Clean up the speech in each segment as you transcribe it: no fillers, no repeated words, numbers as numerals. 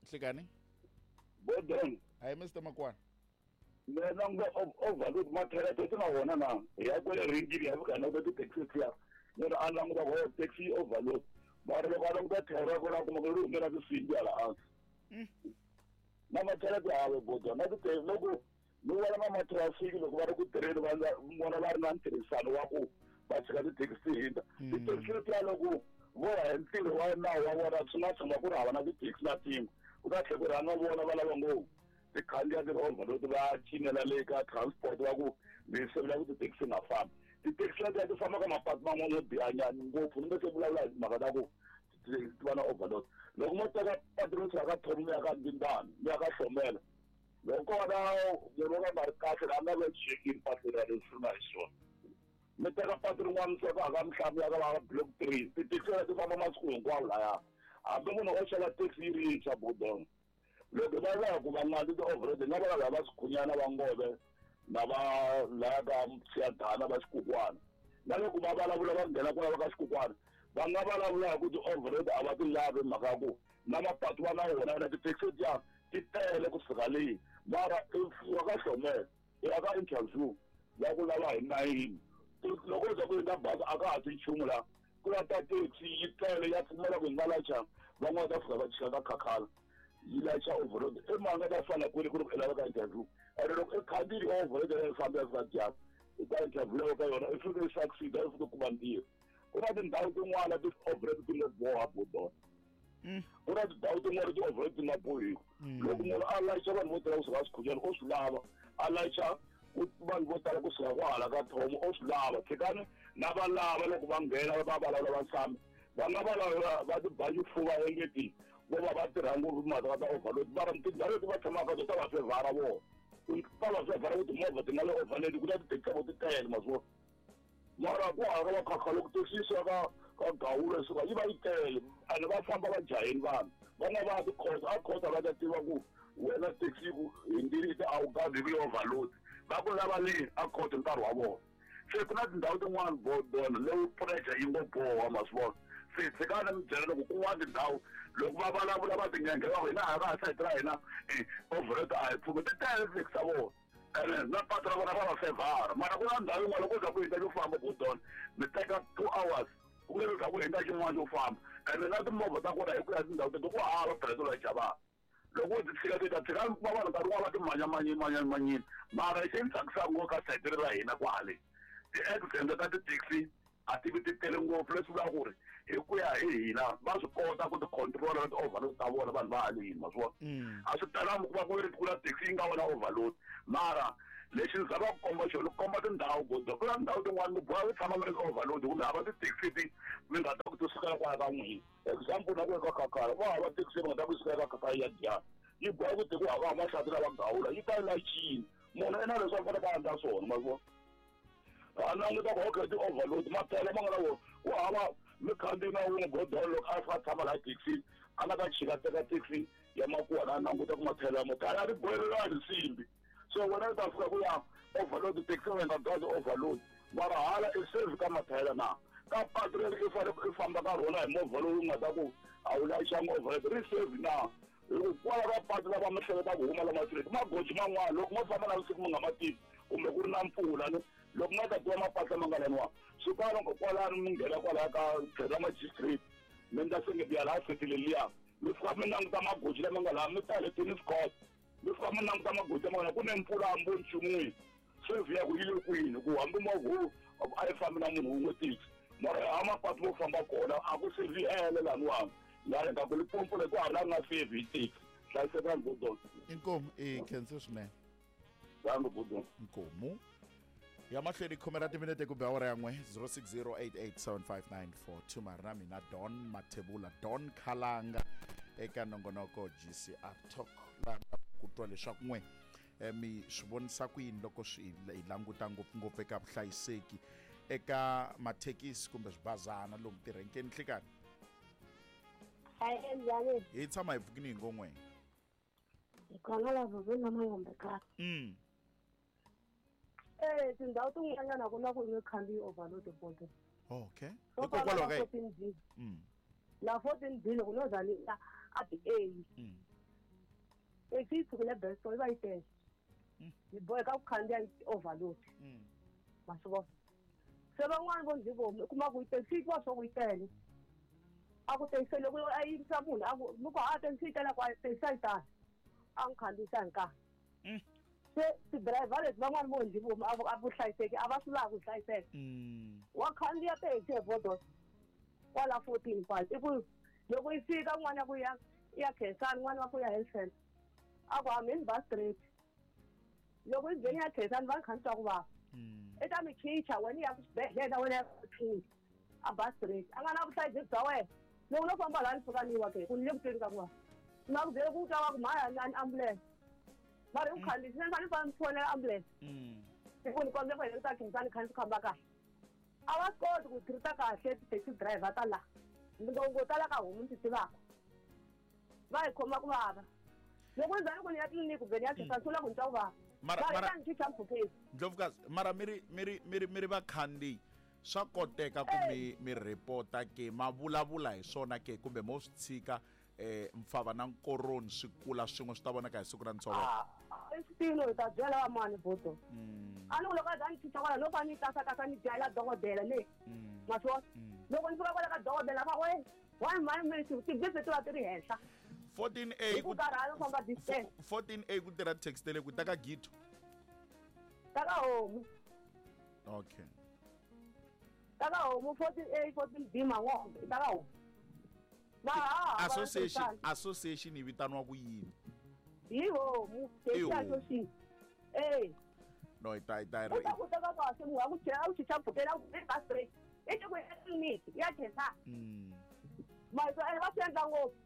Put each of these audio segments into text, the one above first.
Nhlikani. Bodon. Hayi Mr Makwana. Mina nga overload mathayela ti na wona na hi ya kwele ringini ya fika na ku ti-taxi tiya munhu a languta ku taxi yi overload mara loko a languta thayela ra kona a kuma ku ri humela tinsimbi hala hansi na mathayela ti hava bodon na ti loko ni vona na matrafiki loko va ri ku tirheni va vona va ri na ntirhisano wa ku va tshika tithekisi ti hindza tithekisi letiya loko vo ya hi ntirho wa nawu wa vona swi nga tshama ku ri hava na tithekisi na tin'we ku ta tlhela ku rhanga vona va lava ngopfu ti khandziya tirovha leti va cinela le ka transport va ku mi sevula ku tithekisi nga fambi tithekisi letiya ti famba ka mapatu man'wana yo bihanyana ngopfu ni nga se vulavula hi timhaka ta ku ti va na overload loko mo teka patu ro suka ka thomi mi ya ka ndindani mi ya ka hlomela loko ko va na munhu wo ka nga ri kahle la nga ve chekini patu ra leswi nga hi swona mi teka patu rin'wana mi suka ka mihlamu ya ka va block 3 tithekisi leti famba masiku hinkwawo laya hambi munhu o xava taxi yi ri yintshwa bodon loko va lava ku va nga ti ti-overload nga va lava va swikhunyana va ngove na va laya ka siyadana va xikukwana na loko va vulavula va nghena kwala va ka xikukwana va nga vulavula hi ku ti-overload a va ti lavi mhaka ya ku na mapatu va na wona na tithekisi letiya ti tele ku fika leyi mara wa ka hlomela ya ka interview va ku lava hi nayini loko u za ku hindza bazi a ka ha ti nchumu la ku la ta taxi yi tele ya pfumela ku hi nga lacha van'wana ta fika va chika ka khakhala yi lacha overload i mhaka ta fana kwini ku ri ku i lava ka interview ene loko i khandziyile overload ya yi famba ya fika dyambu i ta interview ya ka yona i fike i succeed i fike kuma ntirho ku na tindhawu tin'wana ti-overload ti ngo boha bodona ku na tindhawu tin'wana ti-overload ti nga bohiku loko munhu a layicha vanhu vo tala kusuka swikhunyana o swi lava a layicha vanhu vo tala kusuka kwahala ka thomo o swi lava tshikani na va lava loko va nghena va vulavula va nsami va nga vulavula va ti ba xifuva engeti vo va va tirha ngopfu timhaka ta overload mara tindhawu leti va tshamaka to ta va fevhara vona ta va fevhara ku timovha ti nga le overload ku na tithekisi ta vo ti tele ma swi vona mara ku hava va khakha loko taxi yi suka ka ka gawula suka yi va yi tele ene va famba va jaheni vanhu van'wana va ya tikhoto a khoto va ta tiva ku wena taxi ku hindzile a wu gazi ku yi overload va ku lava le a khoto nkarhi wa vona se ku na tindhawu tin'wana bodona leyi pressure yi ngo boha ma swi vona se tshikani mi byela loko kun'wana tindhawu loko va vulavula va tinghenghe va ku hina a va ha sayiti ra hina overload a hi pfumi ti tele tithekisi ta vona ene na patu ra vona ra va fevhara mara ku na ndhawu yin'wana loko za ku hindza xo famba bodona mi teka 2 hours ku nge za ku hindza xin'wana xo famba ene na timovha ta kona hi ku ya tindhawu teto ku hava petrol ya xavana loko u ti tshika ti ta tshika va vanhu nkarhi wun'wana va ti manyamanyamanyamanyini mara xi ni tsakisaka ngopfu ka sayiti ra hina kwale ti-accident ta ti-taxi a ti vi ti tele ngopfu leswi vulaka ku ri hi ku ya hi hina va swi kota ku ti control na ti-overload ta vona vanhu va haleni ma swi vona a swi talangi ku va ku ri ku na taxi yi nga vona overload mara lexi ni zama ku komba xona ku komba tindhawu godo ku na tindhawu tin'wana mi boha ku tshama mi ri overload kumbe hava ti-taxi ti mi nga ta ku ti sukela kwala ka n'wina example na ku eka khakhala va hava taxi mi nga ta ku sukela ka khakhala ya dyana yi boha ku tekiwa hava mahlati lava gawula yi ta yi lachini munhu i na leswi a fanele a endla swona ma swi vona a languta ku okay ti-overload maphela ma nga na wona ku hava mikhandziyi na wun'we godolo loko a fika a tshama laha taxi a nga ta chika teka taxi ya makuwa a languta ku maphela ya motala a ri bohelelani nsimbi so wena u ta fika ku ya overload taxi wena nga gazi overload mara hala i save ka mathayela na ka patu leri i fanele i famba ka rona hi movha lowu nga ta ku a wu layichanga overload ri save na hi ku kwala ka patu lava mi hleketa ku huma lama street magoji man'wana loko mo famba na vusiku mi nga ma tivi kumbe ku ri na mpfula ni loko nga ta tiva mapatu lama nga laniwa swi kwala kwalano mi nghena kwalaya ka tlhelo ra magistrate mi ndla sengeti ya laha setile liya mi fika mi languta magoji lama nga laha mi ta le tennis court mi fika mi languta magoji lama nga laha ku ne mpfula hambi nchumu save ya ku yi le kwini ku hambi movha a yi fambi na munhu wun'we taxi mara ha mapatu mo famba kona a ku save hele laniwani laha nga ku Limpopo le ku hava la nga save hi taxi hlayisekani bodon Inkomu i khense swinene. Dango bodon. Inkomu ya mahlweni khume ra timinete kumbe awara ya n'we 0608875942 mari na mina Don Mathebula Don Khalanga eka nongonoko GCR Talk laha ku twa leswaku n'we mi swi vonisa ku yini loko swi hi languta ngopfungopfu eka vuhlayiseki eka mathekisi kumbe swibazana lomu tirhenkeni nhlikani. Hayi njhani? Hi tshama hi pfukini hi ngon'we. Hi khona la vuveni na mayombe kaya. Tindhawu tin'wanyana ku na ku nge khandziyi overload bodo. Okay. Swo fana Hikokwalaho na ka 14 B. La 14 B loko no za ni ya a ti A. Taxi yi sukile Besto yi va yi tele. Hi boheka ku khandziya yi overload. Ma swi vona? Se van'wani vo ndzi vomu u kuma ku yi taxi yi twa swa ku yi tele. A ku taxi loko a yimisa munhu a ku mi ku ha taxi yi tele ku a taxi a yi tali. A n'wi khandziyisa hi nkarhi. Se ti-driver leti van'wani vo ndzi vomu a vuhlayiseki a va swi lavi ku hlayiseka. Wa khandziya taxi hi Vodos kwala 14 kwala i ku loko yi fika n'wana ya ku ya ya Khensani n'wana wa ku ya health center a ku hambi bus straight loko yi ngheni ya Khensani va kha ni twa ku vava i ta mi chicha wena ya ku xibedhlele wena ya ku tshungi a bus straight a nga na vuhlayiseki bya wena loko no famba laha ni fika ni wa ke ku ni le ku tweni ka ku vava ni va ku byele ku twa va ku mhaya ni ambulance mara i ku khandziyisa ni fanele ni famba ni fonela ambulance hi ku ni kombela ku heleketa Khensani kha ni famba kahle a va swi koti ku treat kahle ti-taxi driver ta laha ngo tala ka homu ni ti tivaka va hi khoma ku vava loko ni za ni ku ni ya tliliniki kumbe ni ya Khensani swi vula ku ni twa ku vava Mara- va ta ni chicha mpfhukeni. Ndlovukazi, mara mi ri mi ri mi ri mi ri vakhandziyi swa koteka ku mi mi report-a ke ma vulavula hi swona ke kumbe mo swi tshika mfava na nkoroni swi kula swin'we swi ta vonaka hi siku ra ntshovelo? I swi tivi no hi ta byela va mani bodo. A ni ku loko a za ni chicha kwala no fa ni kasakasa ni byela dokodela le. Ma swi vona? Loko ni fika kwala ka dokodela va we one one minute ti-BP ti va ti ri henhla. 14A Hi ku karhala ku famba distance. 14A ku tirha taxi tele ku ta ka Gito. Ta ka homu. Okay. Ta ka homu 14A 14B Man'wombe ta ka homu. Va ha ha Association association yi vitaniwa ku yini? Hi homu I taxi homu. association. Eh. No hi ta hi ta U ta ku teka kahle munhu wa ku chela u chicha mpfhukela ku i bus straight. I ku ya tliliniki ya Khensani. Mahito ene va swi endla ngopfu.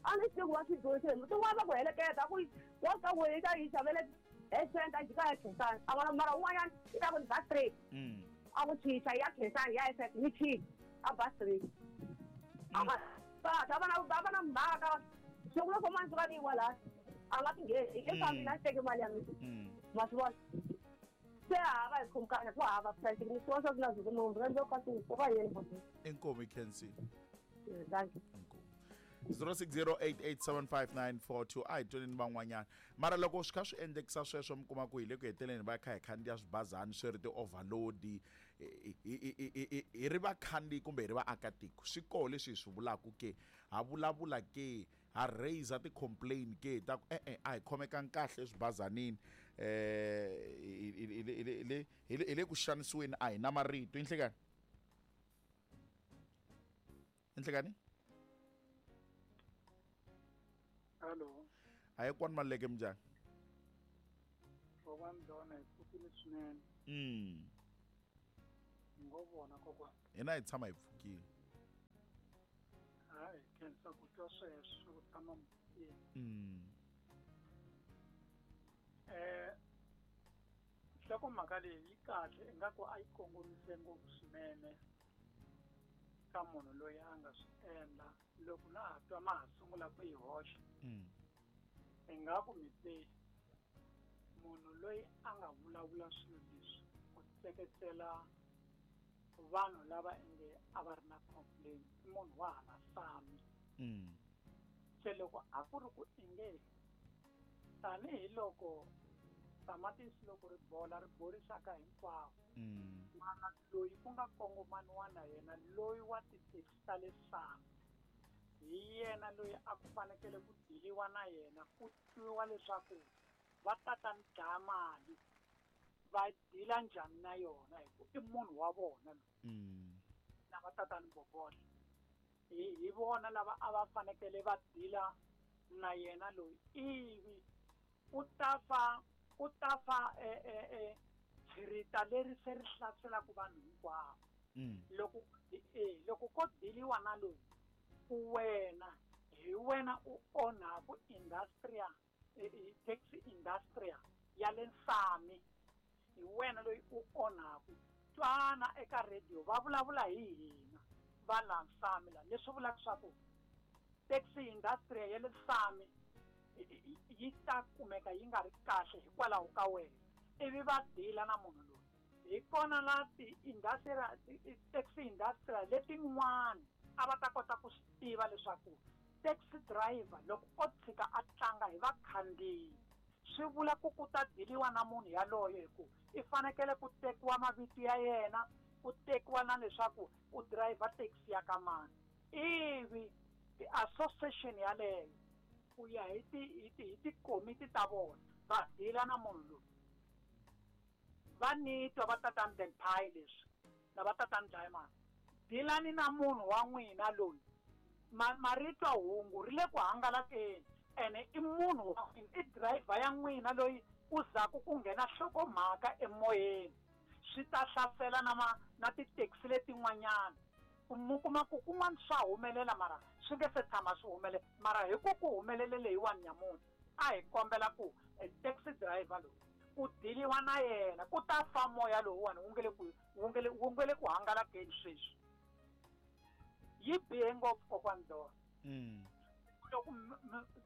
A ni swi tivi ku va swi dyondzise hi tin'wana va ku heleketa ku wa ka ku yi ta yi xavele health center jika ya Khensani. A vona mara un'wanyana i ta ku ni bus straight. A ku chicha ya Khensani ya SF ni chicha a bus straight. A nga kahle a va na a va na mhaka loko loko mani suka ni yiwa laha a nga tingheni i fambile a teke mali ya mina. Ma swi vona? Se hava hi khomi kahle ku hava vuhlayiseki ni swi vona swa ku na zuku munhu rhandza ka ku va yini bodo. Inkomu Khensi. Thank you. Inkomu. 0608875942 a hi tweni van'wanyana mara loko swi kha swi endlekisa sweswo mi kuma ku hi le ku heteleni va kha hi khandziya swibazani swi ri ti-overload hi ri vakhandziyi kumbe hi ri vaakatiko swi koho leswi hi swi vulaka ke ha vulavula ke ha raise ti-complain ke ta ku e-e a hi khomekangi kahle eswibazanini hi le ku xanisiweni a hi na marito. Inhlekani inhlekani. Hello. A hi kwani Maluleke minjhani? Kokwana Dona hi pfukile swinene. Hi ngo vona kokwana. Hina hi tshama hi pfukile. Hayi, khensa ku twa sweswo ku tshama mi pfukile. Nhlokomhaka leyi yi kahle ingaku a yi kongomise ngopfu swinene ka munhu loyi a nga swi endla loko na ha twa ma ha sungula ku yi hoxa. Ingaku mi te munhu loyi a nga vulavula swilo leswi ku tseketsela vanhu lava inge a va ri na complaint i munhu wa hala Sami. Se loko a ku ri ku inge tanihiloko tamatisi loko ri bola ri borisaka hinkwavo mana loyi ku nga kongomaniwa na yena loyi wa ti-taxi ta le Sami hi yena loyi a ku fanekele ku diliwa na yena ku twiwa leswaku va tata ni dlaya mali va dila njhani na yona hi ku i munhu wa vona loyi na va tata ni bobola hi vona lava a va fanekele va dila na yena loyi ivi ku ta fa tshirita leri se ri hlaselaka vanhu hinkwavo. Loko ko diliwa na loyi ku wena hi wena u onhaku industry taxi industry ya le Sami hi wena loyi u onhaku twana eka radio va vulavula hi hina va la Sami la leswi vulaka swa ku taxi industry ya le Sami yi ta kumeka yi nga ri kahle hikwalaho ka wena ivi va dila na munhu loyi hi kona la ti-industry taxi industry letin'wana a va ta kota ku swi tiva leswaku Taxi driver loko o tshika a tlanga hi vakhandziyi swi vula ku ku ta diliwa na munhu yaloye hi ku i fanekele ku tekiwa mavito ya yena, ku tekiwa na leswaku u driver taxi ya ka mani, ivi ti-association yaleyo ku ya hi ti hi ti hi tikomiti ta vona va dila na munhu loyi. Va ni twa va tatani Dan Pie leswi na va tatani Diamond, dilani na munhu wa n'wina loyi. Ma ma ri twa hungu ri le ku hangalakeni ene i munhu wa n'wina, i driver ya n'wina loyi ku zaku ku nghena nhlokomhaka emoyeni. Swi ta hlasela na ma na ti-taxi letin'wanyana. Ku mu kuma ku kun'wana swa humelela mara swi nge se tshama swi humelela, mara hi ku ku humelele leyiwani nyamuntlha, a hi kombela ku e taxi driver loyi ku diliwa na yena, ku ta fa moya lowuwani wu nge le ku wu nge le wu nge le ku hangalakeni sweswi. Yi bihe ngopfu kokwani Dora. Loko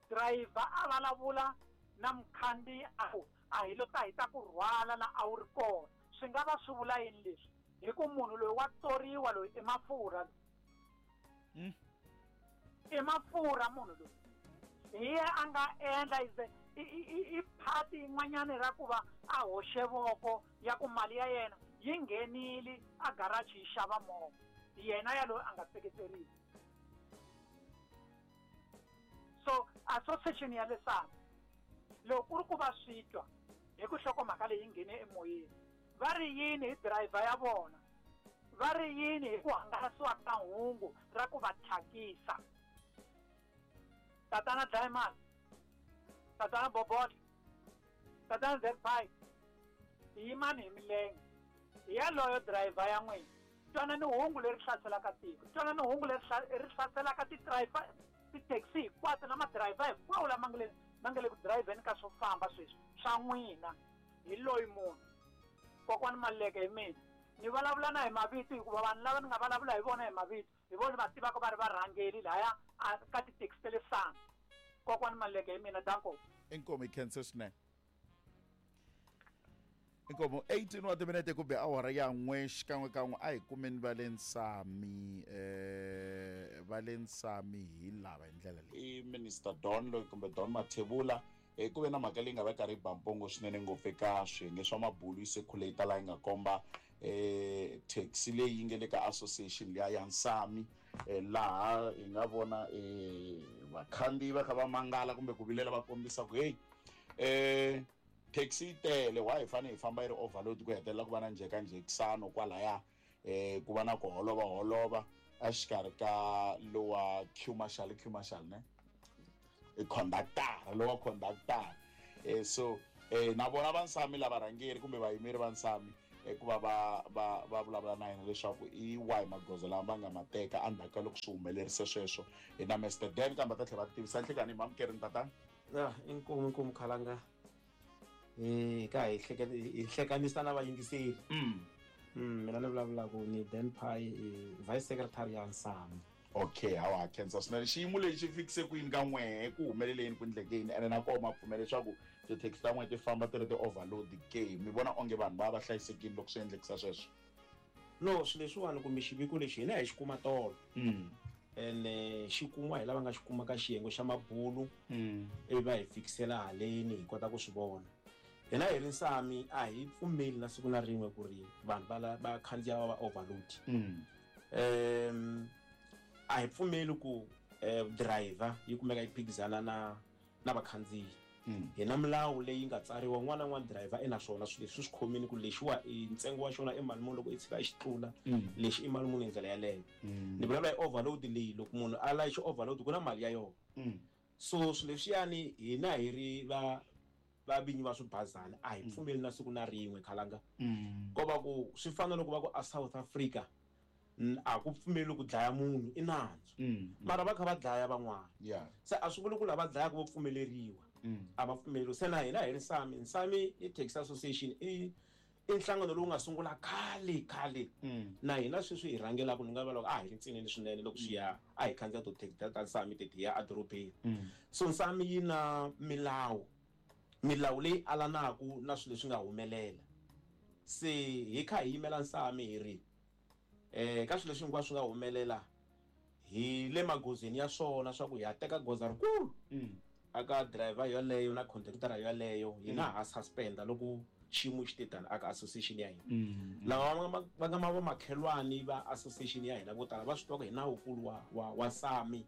driver a vulavula na mukhandziyi a ku a hi lo ta hi ta ku rhwala la a wu ri kona, swi nga va swi vula yini leswi? Hi ku munhu loyi wa tsoriwa loyi i mafurha loyi. I mafurha munhu loyi. Hi ye a nga endla is i i i part yin'wanyana ra ku va a hoxe voko ya ku mali ya yena yi nghenile a garage yi xava movha, yena yaloye a nga seketeriwi. So association ya le SAMI loko ku ri ku va swi twa hi ku nhlokomhaka leyi yi nghene emoyeni, va ri yini hi driver ya vona? Va ri yini hi ku hangalasiwa ka hungu ra ku va thyakisa? Tatana Diamond, Tatana Bobotla, Tatana Zephi, yimani hi milenge hi yaloyo driver ya n'wina. Twanani hungu leri hlaselaka tiko, twanani hungu leri ri hlaselaka ti-driver, ti-taxi hinkwato na madirayivha hinkwawo lama nga le ma nga le ku dirayivheni ka swo famba sweswi swa n'wina. Hi loyi munhu kokwani Maluleke hi mina ni vulavula na hi mavito, hikuva vanhu lava ni nga vulavula hi vona hi mavito hi vona va tivaka va ri varhangeri laya ka tithekisi ta le Sani. Kokwani Maluleke hi mina, danko. Inkomu, hi khense swinene. Inkomu, 18 wa timinete ku be awara ya n'we xikan'wekan'we a hi kumeni va le Nsami, va le Nsami hi lava hi ndlela leyi. I Minister Don loyi kumbe Don Mathebula, ku ve na mhaka leyi nga va karhi yi ba mpongo swinene ngopfu eka swiyenge swa mabulu yi circulate laha yi nga komba taxi leyi yi nga le ka association liya ya Nsami, laha hi nga vona vakhandziyi va kha va mangala kumbe ku vilela va kombisa ku hey, taxi yi tele, why hi fanele hi famba yi ri overload, ku hetelela ku va na njhekanjhekisano kwalaya, ku va na ku holova holova exikarhi ka lowa Q Marshal, Q Marshal ne i conductor, lowa conductor, so na vona va Nsami lava rhangeri kumbe vayimeri va Nsami, ku va va va va vulavula na yena leswaku i wahi magoza lama va nga ma teka endzhaku ka loko swi humelerise sweswo. Hi na Mr Dan kambe va ta tlhela va tivisa nhlikani hi mamukerini tatana. Ya, inkomu, inkomu Khalanga. Ka hi hleketa hi hlekanisa na vayingiseri. Mina ni vulavulaka ni Dan Pie, vice secretary ya Nsami. Okay, hawa khensa swinene. Xiyimo lexi xi fikise ku yini ka n'wehe, ku humelele yini, ku endleke yini, ene na koho ma pfumela leswaku tithekisi ta n'wehe ti famba ti ri ti-overload ke? Mi vona onge vanhu va va hlayisekile loko swi endlekisa sweswo? No, swilo leswiwani kumbe xiviko lexi hina hi xi kuma tolo. Ene xi kumiwa hi lava nga xi kuma ka xiyenge xa mabulu, ivi va hi fikisela haleni hi kota ku swi vona. Hina hi ri Nsami a hi pfumeli na siku na rin'we ku ri vanhu va va khandziya va va overload. A hi pfumeli ku driver yi kumeka yi phikizana na na vakhandziyi. Hi na milawu leyi nga tsariwa, un'wana na un'wana driver i na swona swilo leswi swi khomile ku lexiwa i ntsengo wa xona i mali muni, loko i tshika i xi tlula lexi i mali muni hi ndlela yaleyo. Ni vulavula hi overload leyi, loko munhu a layicha overload ku na mali ya yona. So swilo leswiyani hina hi ri va va vinyi va swibazana a hi pfumeli na siku na rin'we Khalanga. Ko va ku swi fana loko va ku a South Africa a ku pfumeli ku dlaya munhu i nandzu, mara va kha va dlaya van'wana. Se a swi vuli ku lava dlayaka vo pfumeleriwa, a va pfumeleriwi. Se na hina hi ri Nsami, Nsami i Taxi Association, i nhlangano lowu nga sungula khale khale, na hina sweswi hi rhangelaka. Ni nga va loko a hi ri ntsinini swinene loko swi ya a hi khandziya to taxi ta Nsami teti ya edorobeni. So Nsami yi na milawu, milawu leyi alanaku na swilo leswi nga humelela. Se hi kha hi yimela Nsami hi ri ka swilo leswi hinkwaswo swi nga humelela. Hi le magozeni ya swona swa ku hi ya teka goza rikulu aka driver yoleyo na conductor yoleyo. Hina ha suspenda loko xiyimo xi te tani aka association ya hina. Lava va nga ma vamakhelwani va association ya hina vo tala va swi tiva ku hi nawukulu wa SAMI,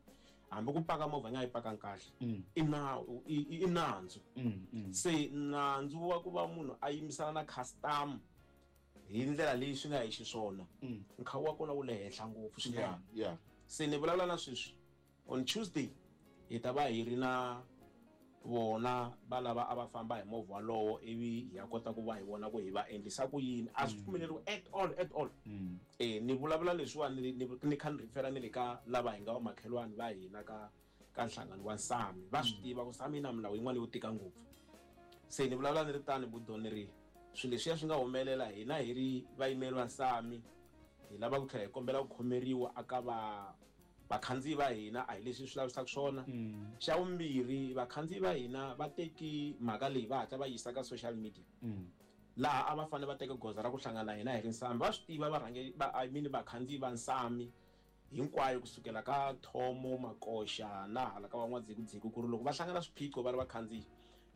hambi ku paka movha yi nga yi pakangi kahle, i nawu, i nandzu. Se nandzu wa ku va munhu a yimisana na customer hi ndlela leyi swi nga hi xiswona, nkhawu wa kona wu le henhla ngopfu swinene. Se ni vulavula na sweswi, on Tuesday hi ta va hi ri na vona va lava a va famba hi movha walowo, ivi hi ya kota ku va hi vona ku hi va endlisa ku yini. A swi pfumeleriwi at all, at all. Ni vulavula leswiwani ni kha ni refera ni le ka lava hi nga vamakhelwani va hina ka nhlangano wa SAMI. Va swi tiva ku SAMI yi na milawu yin'wana yo tika ngopfu. Se ni vulavula ni ri tani, budoni, ri swilo leswiya swi nga humelela, hina hi ri vayimeri va SAMI hi lava ku tlhela hi kombela ku khomeriwa aka va vakhandziyi va hina. A hi leswi swi lavisaka swona. Xa vumbirhi, vakhandziyi va hina va teki mhaka leyi va hatla va yisa ka social media, laha a va fanele va teka goza ra ku hlangana na hina hi ri Nsami. Va swi tiva varhangeri va, I mean, vakhandziyi va Nsami hinkwayo, kusukela ka Thomo Makoxa na hala ka van'wadzikudziku, ku ri loko va hlangana swiphiqo va ri vakhandziyi,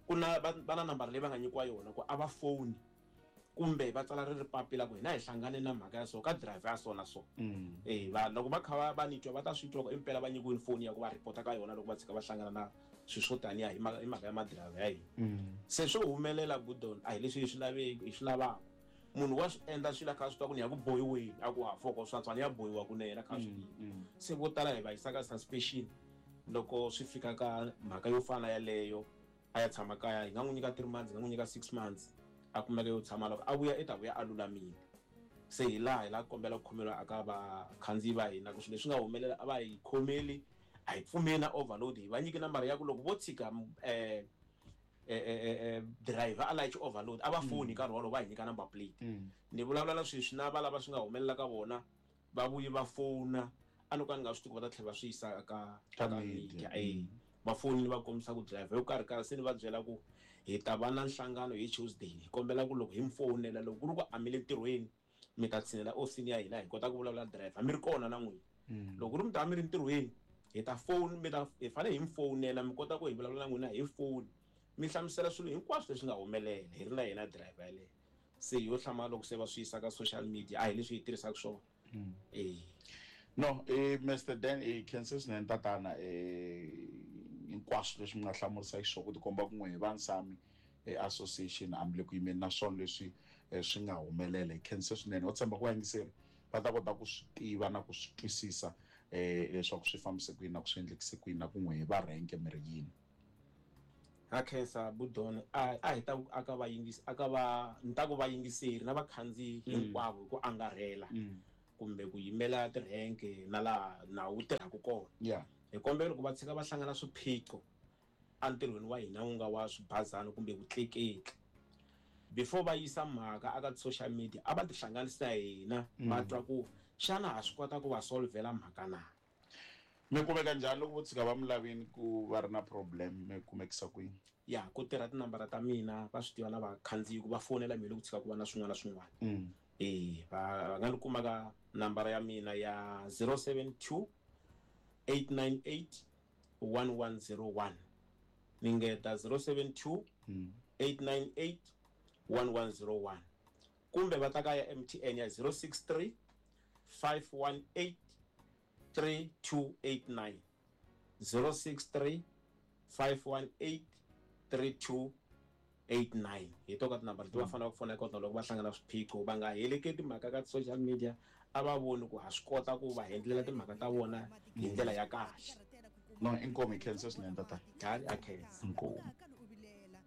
ku na va na nambara leyi va nga nyikiwa yona ku a va foni kumbe va tsala ri ri papila ku hina hi hlangane na mhaka ya so ka driver ya so na so. Va loko va kha va ni twa, va ta swi twa ku impela va nyikiwile foni ya ku va report ka yona loko va tshika va hlangana na swilo swo taniya hi mhaka ya madirayivha ya hina. Se swo humelela, Budon, a hi leswi hi swi laveki, hi swi lavaka. Munhu wa swi endla swilo a kha a swi tiva ku ni ya ku bohiweni, a ku ha foko swa ni ya bohiwa kunene, a kha a swi tiva. Se vo tala hi va yisa ka suspension loko swi fika ka mhaka yo fana yaleyo. A ya tshama kaya, hi nga n'wi nyika 3 months, hi nga n'wi nyika 6 months, a kumeka yo tshama. Loko a vuya, i ta vuya a lulamile. Se hi laha hi lava ku kombela ku khomeriwa aka vakhandziyi va hina ku swilo leswi nga humelela a va hi khomeli. A hi pfumeli na overload. Hi va nyiki nambara ya ku loko vo tshika driver a layichi overload, a va foni hi nkarhi wolowo va hi nyika number plate. Ni vulavula na sweswi na va lava swi nga humelela ka vona, va vuyi va fona. A no ka ni nga swi tivi ku va ta tlhela va swi yisa ka media. Va fonini va kombisa ku driver yo karhi karhi. Se ni va byela ku hi ta va na nhlangano hi Tuesday. Hi kombela ku loko hi mi fonela, loko ku ri ku a mi le ntirhweni, mi ta tshinela ofisini ya hina, hi kota ku vulavula driver mi ri kona na n'wina. Loko ku ri mi ta va mi ri ntirhweni, hi ta phone mi ta hi fanele hi mi fonela, mi kota ku hi vulavula na n'wina hi foni, mi hlamusela swilo hinkwaswo leswi nga humelela hi ri na yena driver yaleyo. Se yo hlamala loko se va swi yisa ka social media. A hi leswi hi tirhisaka swona. No, Mr Dan, i khense swinene tatana, hinkwaswo leswi mi nga hlamurisaka xiswona ku tikomba kun'we hi va Nsami association hambi le ku yimeni na swona leswi swi nga humelela. Hi khense swinene. Ho tshemba ku vayingiseri va ta kota ku swi tiva na ku swi twisisa leswaku swi fambise ku yini na ku swi endlekise ku yini na kun'we hi va renke mi ri yini. Ha khensa, Budon. A hi ta ku aka vayingisi, aka va ni ta ku vayingiseri na vakhandziyi hinkwavo hi ku angarhela, kumbe ku yimela tirhenke na laha nawu wu tirhaka kona, hi kombela loko va tshika va hlangana swiphiqo entirhweni wa hina wu nga wa swibazana kumbe vutleketli, before va yisa mhaka aka social media, a va tihlanganisi na hina, va twa ku xana ha swi kota ku va solvela mhaka na. Mi kumeka njhani loko vo tshika va mi lavini ku va ri na problem, mi kumekisa kwini? Ya ku tirha tinambara ta mina, va swi tiva na vakhandziyi ku va fonela mina loko tshika ku va na swin'wana na swin'wana. Va nga ni kuma ka nambara ya mina ya 072 898 1101. Ni ngeta 072 898 1101, kumbe va ta ka ya MTN ya 063 518 3289, 063 518 3289. Hi to ka tinambara leti va fanele ku fona eka tona loko va hlangana swiphiqo. Va nga heleketi mhaka ka social media, a va voni ku ha swi kota ku va endlela timhaka ta vona hi ndlela ya kahle. No, inkomu. Hi khensa swinene tata. Hayi, a khensa. Inkomu.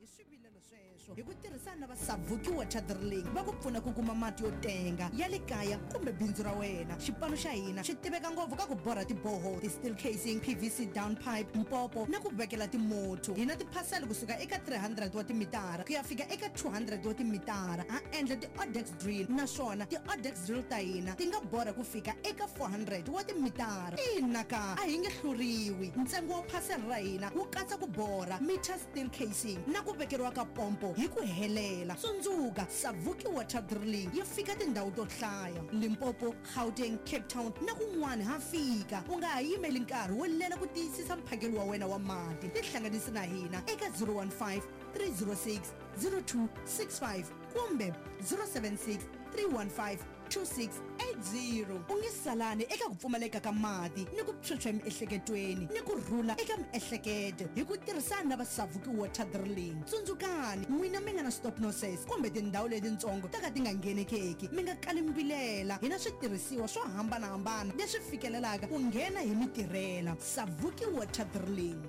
Hi swivilelo sweswo, hi ku tirhisana na va Savuki Water Drilling, va ku pfuna ku kuma mati yo tenga ya le kaya kumbe bindzu ra wena. Xipano xa hina xi tiveka ngopfu ka ku borha tiboho, ti-steel casing, PVC down pipe, mpopo na ku vekela timotho. Hi na tiphasela kusuka eka 300 wa timitara ku ya fika eka 200 wa timitara. Ha endla ti-odex drill, naswona ti-odex drill ta hina ti nga borha ku fika eka 400 wa timitara. Ina ka, a hi nge hluriwi. Ntsengo wa phasela ra hina wu katsa ku borha meter, steel casing na ku vekeriwa ka pompo. 24 hi ku helela. Tsundzuka, Savuki Water Drilling yi fika tindhawu to hlaya, Limpopo, Gauteng, Cape Town na kun'wana ha fika. U nga ha yimeli nkarhi wo lela ku tiyisisa mphakelo wa wena wa mati. Tihlanganisi na hina eka 015 306 0265 kumbe 076 315 2680. U nge salani eka ku pfumaleka ka mati ni ku phyuphya emiehleketweni ni ku rhula eka miehleketo hi ku tirhisana na va Savuki Water Drilling. Tsundzukani, n'wina mi nga na stop noses kumbe tindhawu letitsongo ta ka ti nga nghenekeki, mi nga kali mi vilela. Hi na switirhisiwa swo hambana-hambana leswi fikelelaka ku nghena hi mi tirhela. Savuki Water Drilling.